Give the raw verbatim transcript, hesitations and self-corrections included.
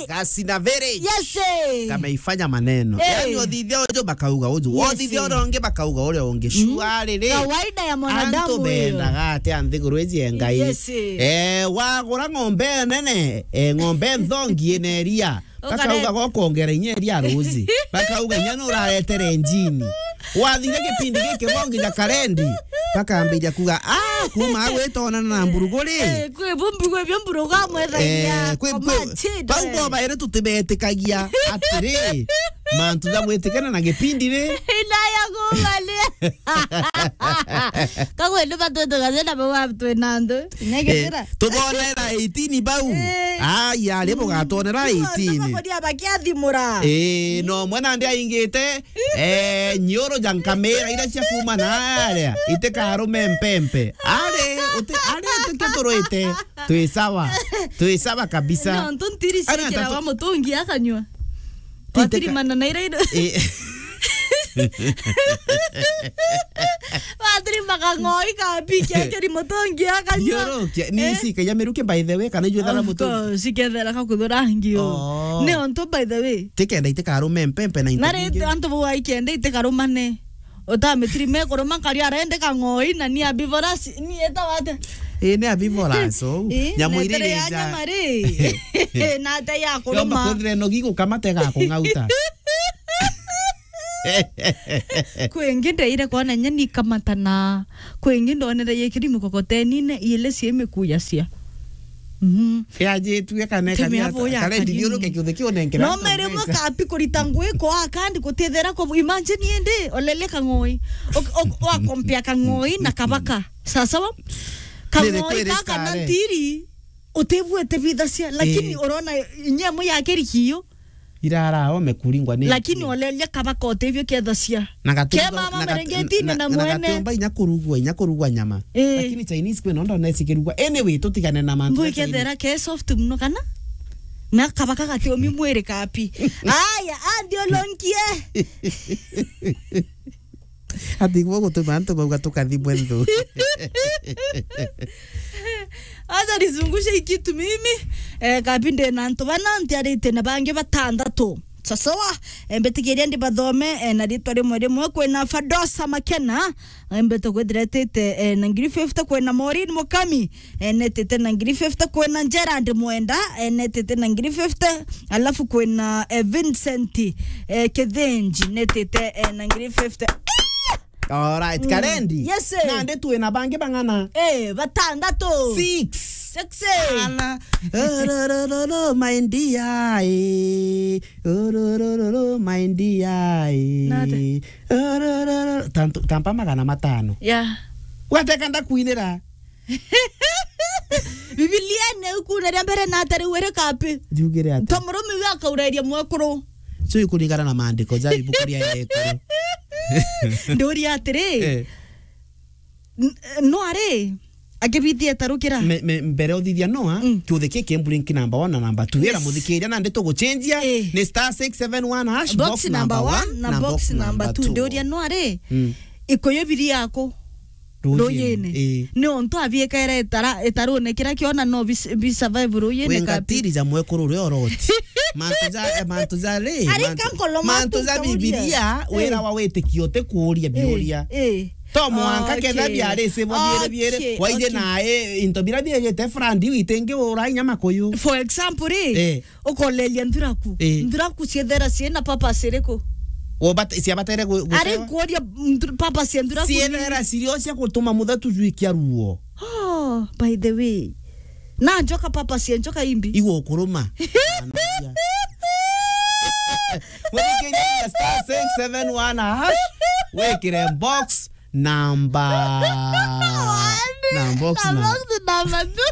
Gasina Village. Yes, eh. Kameifanya maneno. Eh. Yaani, othithia uju bakauga uju. Yes, othithia eh. Uria ungi bakauga uria ungi. Mm. Shuari ri. Kawaida ya mwanadamu antu huyo. Bendaga atia nthiguru iji ya Ngai? Yes, eh. Eh, wagura ng'ombe nene, eh, ng'ombe nthongi ina iria. Ukare- Bakauga gokongera inya iria ruzi. Bakauga inya nuraretere njini. Wathire gipindi giki bongi ja karendi. Bakambiria kuga, "Ah, kuma agwitonana na mburugu ri." Eh, kwi bumbu, kwi byo mburugu amwethagia. Eh, kwi, kwa kwi, machida, bau eh. Bo bairi tutibetikagia atiri, mantu ja gwitikana na gipindi ri. Inaya kumalia. Kagwe ni batwetikagia na bau twina ndu. Nyegitira. Eh, tubonera eighteen bau. Eh. Ai, ari bugatwonera eighteen. Bakoria bakiathimura. Eh, no mwana ndi aingite. Eh, nyoro ja nkamira ira cia kuma na aria, itikarume mpempe. Ari, uti-, ari, utike turwite. Twi sawa. Twi sawa kabisa. No, ntu ntiri ari ciikira atatu- wa mutungi akanyua. Titeka- Watirimana na ira indo. Eh. Watirima kang'oi ka piki akiri mutungi akanyua. Nyorokia, ni eh? Cikaia miruki by the way, kana ijwethana mutungi? Of course, cikethera ka kuthura ngio. Oh. Ni ontu by the way. Tikenda itikarume mpempe na into. Na ri bingi. Antu bau aikenda itikarumane. Utamitirime kuruma nkari arende kang'oi na ni herbivores, ni etawa atia? Ii, ni herbivores, ou. Ii, nyamu na iria itere ya iria nyama ri. Na ata ya kuruma. Yomba kwithire nogi gukamata igakung'auta. Kwi ingi ndeire kwona nyeni ikamatana. Kwi ingi ndonere yikiri mikokotenine, iile cie mikuyacia. Mhm. Yajitue kana. Teme kania abo ata? Ya kare kanyeni. Ndithiuruke kiuthe kiu nenkera. No antu mere mbeca. Mwe kapi kurita ngui kwa kandi kutithera ku, imagine indi olele kang'oi. Ok, ok, wakompea kang'oi na kabaka. Sawa sawa? Nere kang'oi kwere kaka na stare. Ntiri, utibuete bithacia, lakini eh. Urona inya mwe ya kiri kiyo. Irara ome kuringwa ni. Lakini oleria kabaka utibio kethacia. Na gatumba, ke mama na gatu-, merengeti na, na, na mwene. Na gatumba inya kurugwa, inya kurugwa nyama. Eh. Lakini Chinese kwe nondo nesi kirugwa. Anyway, tutigane na mantu. Ngui ya Chinese. Kethera ke soft muno kana? Na kabaka gati omi mwiri kapi. Aya, andiolonkie. Ati gwo gutuma antu bauga tukathimwe nthu. Acha nizungushe hii kitu mimi. Eh, kabi ndina antu bana, ntiarite na bangi batandatu. Sasawa, eh, mbitikiria ndibathome, eh, na ritwa rimwe rimwe. Kwina Fadosa Makena, eh, mbete kwithira etite, eh, na ngiri fifty. Kwina Maureen Mukami, eh, netite na ngiri fifty. Kwina Gerard Mwenda, eh, netite na ngiri fifty. Alafu kwina, eh, Vincent, eh, Kithinji, netite, eh, na ngiri fifty. Alright, mm. Karendi. Yes, sir. Nandi twina bangi bang'ana? Eh, batandatu. Six. Six, eh. Ala. Ororororo, my dear, eh. Ororororo, my dear, eh. Nate? Ororororo. Tantu-, tampa magana matano. Yeah. Wateka ndakwinira. Bibilia ni ukuna ria mbere na atari were kapi. Jugire ati. To murume uyu akaurairia mwekuru. So ikuringana na maandiko ja ibuku ria ekuru. Nduria atiri. Eh. N-, Noa ri, akibithia tarukira. Me, me, mbere uthithia Noa, mm. Kiuthe kiki blank number one na number two. Ira yes. Muthikiria na ndeto guchenjia, eh. Ni star six seven one hash, box number one na box number two. Nduria Noa ri, mm. Ikuyu biri yako. Ruyine. Ruyine. Ii. Ni ontu abiekaira itara-, itarune kiria kiona no bis-, bi survive ruyine. Wengatiri ja mwekuru uria oroti. Mantu ja, eh, mantu ja ri, arika mantu, nkolo mantu mantu ja nkamuria. Bibilia, eh. Wira wa witikio ti kuuria biuria. Eh, eh. To mwanka okay. Ketha biari sebo biere biere. Okay, waije okay. Na, eh, into bira biegete frandi iu itingi ura inya makuyu. For example, ri, eh. Ukoleria nthuraku. Ii. Nthuraku ciethera ciina purpose iriku? Wo bat-, cia batere gu-, ari gucewa? Nkuria nthur-, purpose ya nthuraku ni ciethera cirio cia gutuma muthetu jwikia ruo. Oh, by the way. Na njoka purpose ya njoka imbi? Igwo kuruma. Muthikiria star six seven one hash, wikire box number. Na box na number two.